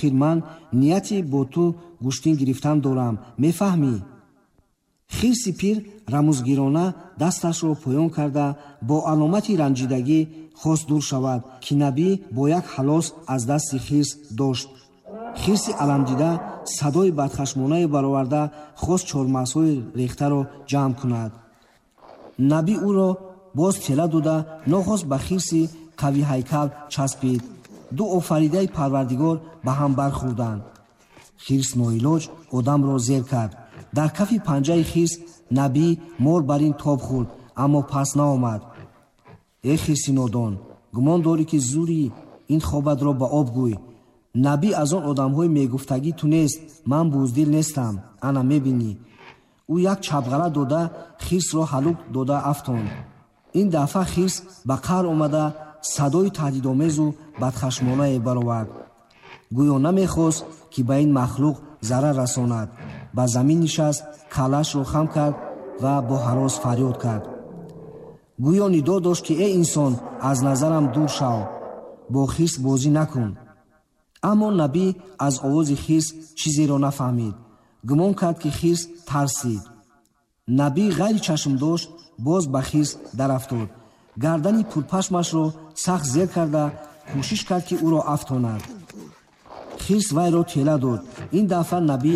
Охир ман нияти бо ту гӯштин гирифтан дорам, мефаҳмӣ? Хирси пир рамузгирона дасташро поён карда, бо аломати ранҷидагӣ хост дур шавад, ки Набӣ бо як ҳалос аз дасти хирс дошт. Хирси аламдида садои бадхашмонае бароварда, хост чормағзҳои рехтаро ҷамъ кунад. Набӣ ӯро боз тела дода, нохост ба хирси қавиҳайкал часпид. Ду офаридаи Парвардигор ба ҳам бархӯрданд. Хирс ноилоҷ одамро зер кард. Дар кафи панҷаи хирс Набӣ мор бар ин тоб хӯрд, аммо пас наомад. Э хирси нодон, гумон дорӣ, ки зури ин хобатро ба об гӯй. Набӣ аз он одамҳои мегуфтагӣ ту нест, ман буздил нестам, ана мебинӣ. Ӯ як чапғала дода, хирсро ҳалук дода афтонд. Ин дафъа хирс ба қаҳр омада, садои таҳдидомезу бадхашмонае баровард. Гӯё намехост, ки ба ин махлуқ зарар расонад. Ба замин нишаст, каллаашро хам кард ва бо ҳарос фарёд кард. Гӯё нидо дошт, ки э инсон, аз назарам дур шав, бо хирс бозӣ накун. Аммо Набӣ аз овози хирс чизеро нафаҳмид. Гумон кард, ки хирс тарсид. Набӣ ғайри чашмдошт боз ба хирс дарафтод. Гардани пурпашмашро сахт зер карда, кӯшиш кард, ки ӯро афтонад. Хирс вайро тела дод. Ин дафъа Набӣ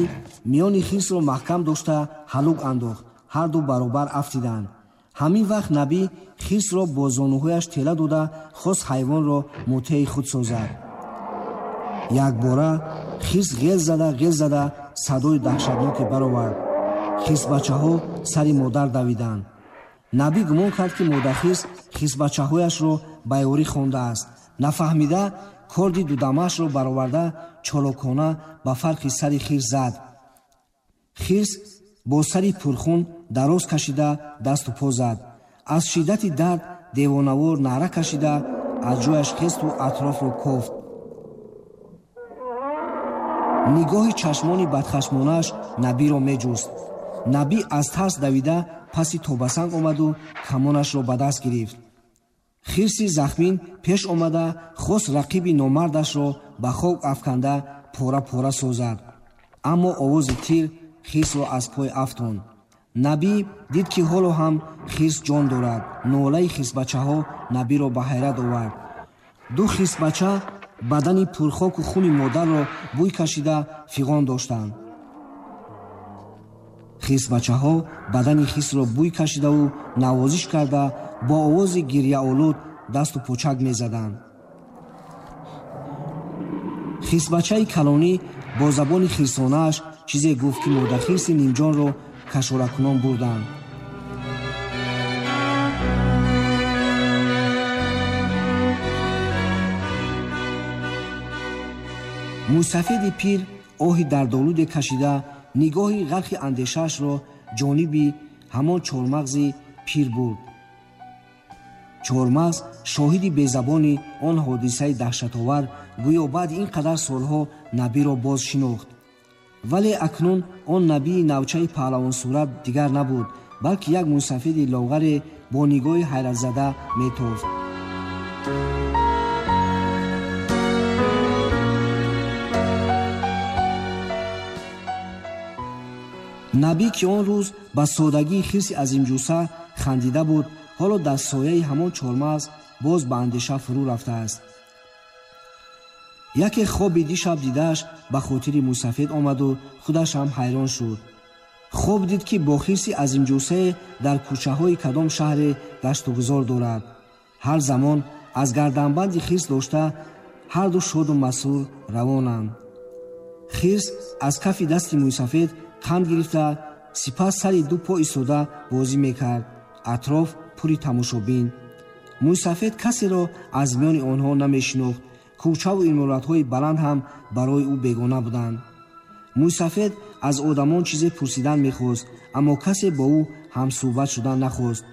миёни хирсро маҳкам дошта, ҳалук андохт. Ҳарду баробар афтиданд. Ҳамин вақт Набӣ хирсро бо зонуҳояш тела дода, хост ҳайвонро мутеи худ созад. Якбора хирс ғел зада, ғел зада садои даҳшатноке баровард. Хирсбачаҳо сари модар давиданд. Набӣ гумон кард, ки модахирс хирсбачаҳояшро ба ёрӣ хондааст. Нафаҳмида корди дудамаашро бароварда, чолокона ба фарқи сари хирс зад. Хирс бо сари пурхун дароз кашида, дасту по зад. Аз шиддати дард девонавор наъра кашида, аз ҷояш хесту атрофро кофт. Нигоҳи чашмони бадхашмонааш Набиро меҷуст. Набӣ аз тарс давида паси тобасанг омаду камонашро ба даст гирифт. Хирси захмин пеш омада, хост рақиби номардашро ба хок афканда, пора пора созад, аммо овози тир хирсро аз пой афтонд. Набӣ дид, ки ҳоло ҳам хирс ҷон дорад. Нолаи хирсбачаҳо Набиро ба ҳайрат овард. Ду хирсбача бадани пурхоку хуни модарро бӯй кашида, фиғон доштанд. Хирсбачаҳо бадани хирсро бӯй кашидаву навозиш карда, бо овози гирьяолуд дасту почак мезаданд. Хирсбачаи калонӣ бо забони хирсонааш чизе гуфт, ки модахирси нимҷонро кашоракунон бурданд. Мӯйсафеди пир оҳи дардолуде кашида, нигоҳи ғарқи андешаашро ҷониби ҳамон чормағзи пир бурд. Чормағз, шоҳиди безабони он ҳодисаи даҳшатовар, гӯё баъди ин қадар солҳо Набиро боз шинохт. Вале акнун он Набии навчаи паҳлавонсурат дигар набуд, балки як мӯйсафеди лоғаре бо нигоҳи ҳайратзада метофт. Набӣ, ки он рӯз ба содагии хирси азимҷусса хандида буд, ҳоло дар сояи ҳамон чормағз боз ба андеша фурӯ рафтааст. Яке хоби дишаб дидааш ба хотири мӯйсафед омаду худаш ҳам ҳайрон шуд. Хоб дид, ки бо хирси азимҷуссае дар кӯчаҳои кадом шаҳре гаштугузор дорад. Ҳар замон аз гарданбанди хирс дошта, ҳарду шоду масрур равонанд. Хирс аз кафи дасти мӯйсафед қанд гирифта, сипас сари ду по истода бозӣ мекард. Атроф пури тамошобин. Мӯйсафед касеро аз миёни онҳо намешинохт. Кӯчаву иморатҳои баланд ҳам барои ӯ бегона буданд. Мӯйсафед аз одамон чизе пурсидан мехост, аммо касе бо ӯ ҳамсӯҳбат шудан нахост.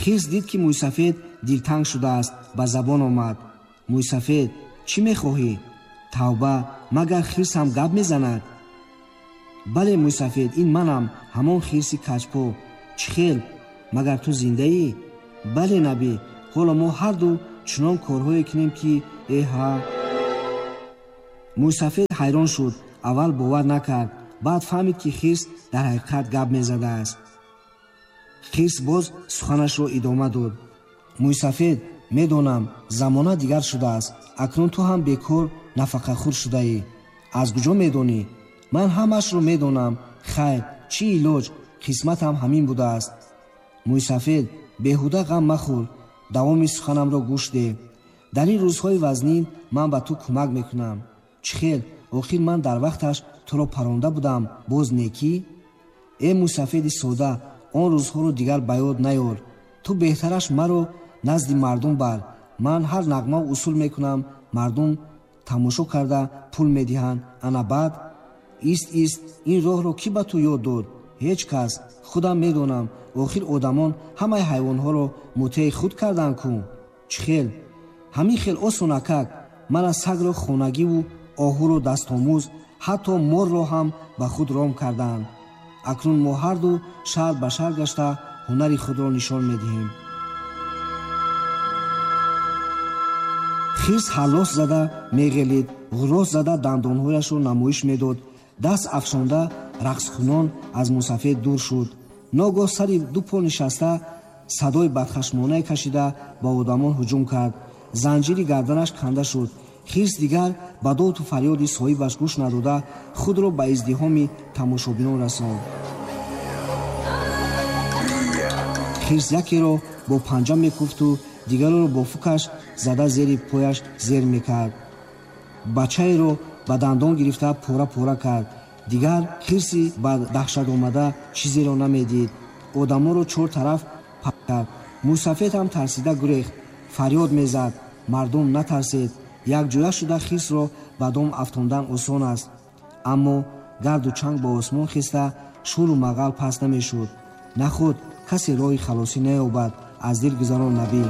Хирс дид, ки мӯйсафед дилтанг шудааст, ба забон омад: «Мӯйсафед, чӣ мехоҳӣ?» «Тавба, магар хирс ҳам гап мезанад?» «Бале, мӯйсафед, ин манам, ҳамон хирси каҷпо. Чӣ хел, магар ту зиндаӣ?» «Бале, Набӣ, ҳоло мо ҳарду чунон корҳое кунем, ки эҳа». Мӯйсафед ҳайрон шуд. Аввал бовар накард, баъд фаҳмид, ки хирс дар ҳақиқат гап мезадааст. Хирс боз суханашро идома дод. Мӯйсафед, медонам, замона дигар шудааст. Акнун ту ҳам бекор нафақахӯр шудаӣ. Аз куҷо медонӣ? Ман ҳамаашро медонам. Хайр, чӣ илоҷ, қисматам ҳамин будааст. Мӯйсафед, беҳуда ғам махӯр, давоми суханамро гӯш деҳ. Дар ин рӯзҳои вазнин ман ба ту кӯмак мекунам. Чӣ хел? Охир ман дар вақташ туро паронда будам, боз некӣ? Э мӯйсафеди сода, он рӯзҳоро дигар ба ёд наёр. Ту беҳтараш маро назди мардум бар. Ман ҳар нағмаву усул мекунам, мардум тамошо карда пул медиҳанд. Ана баъд ист ист, ин роҳро кӣ ба ту ёд дод? Ҳеҷ кас. Худам медонам. Охир одамон ҳамаи ҳайвонҳоро мутеи худ карданд ку. Чӣ хел? Ҳамин хел осонакак. Мана сагро хонагиву оҳуро дастомӯз, ҳатто морро ҳам ба худ ром карданд. Акнун мо ҳарду шаҳр ба шаҳр гашта ҳунари худро нишон медиҳем. Хирс ҳаллос зада меғелид, ғуррос зада дандонҳояшро намоиш медод. Даст афшонда рақскунон аз мӯйсафед дур шуд. Ногоҳ сари ду по нишаста садои бадхашмонае кашида ба одамон ҳуҷум кард. Занҷири гарданаш канда шуд. Хирс дигар ба доду фарёди соҳибаш гӯш надода худро ба издиҳоми тамошобинон расонд. Хирс якеро бо панҷа мекуфту дигареро бо фукаш зада зери пояш зер мекард. Бачаеро ба дандон гирифта пора-пора кард. Дигар хирси ба даҳшат омада чизеро намедид. Одамонро чор тараф паҳн кард. Мӯйсафед ҳам тарсида гурехт. Фарёд мезад: мардум натарсед, якҷоя шуда хирсро ба дом афтондан осон аст. Аммо гарду чанг ба осмон хеста шӯру мағал паст намешуд. Нахуд касе роҳи халосӣ наёбад, аз дил гузарон Набӣ.